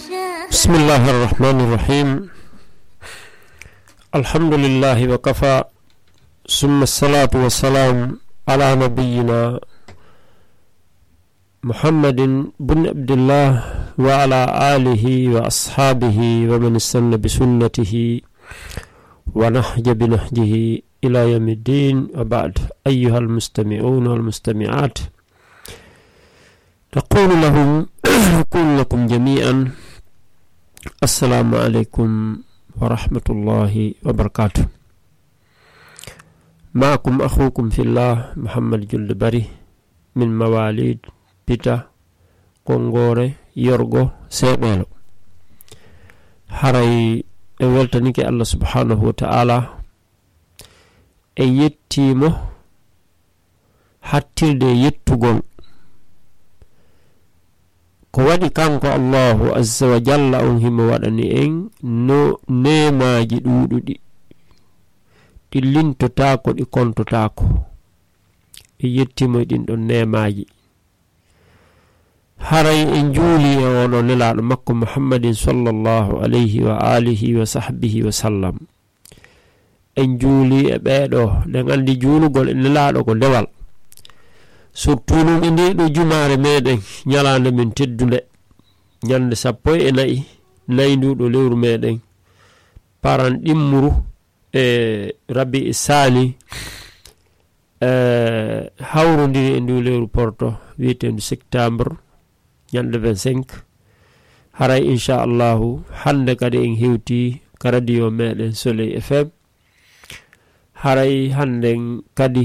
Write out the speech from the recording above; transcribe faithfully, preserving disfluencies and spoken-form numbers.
بسم الله الرحمن الرحيم. الحمد لله وكفى، ثم الصلاة والسلام على نبينا محمد بن عبد الله وعلى آله وأصحابه ومن استن بسنته ونهج بنهجه إلى يوم الدين. وبعد، أيها المستمعون والمستمعات، نقول لهم، نقول لكم جميعا، السلام عليكم ورحمة الله وبركاته. معكم أخوكم في الله، محمد جلد بري، من مواليد بيتا، Konngore, Yorgo, Seeɓeelo. Haray en weltanike Allah subhanahu wa ta'ala, en yettii mo hattirde e yettugol. Ko waɗi kanko Allahu azza wa jalla on himo waɗani en no neemaaji ɗuuɗuɗi, ɗi lintotaako, ɗi kontotaako. En yettii mo e ɗin ɗon neemaaji. Haray en juuli e on o Nelaaɗo makko Muhammadin sallallahu alayhi wa alihi wa sahbihi wa sallam. En juuli e ɓeeɗo, ɗen anndi juulugol e Nelaaɗo ko dewal. Surtout ɗum e nde ɗo jumaare meɗen, ñalaande men teddunde, ñande sappo e nayi, nayi ndu ɗo lewru meɗen, paran ɗimmuru e Rabi'i Saani, eh, hawrondiri e ndu lewru porto wiyeteendu septembre, ñande vingt-cinq. Haray, inchallahu, hannde kadi en hewti ka radio meɗen Soleil F M. Haray hannden kadi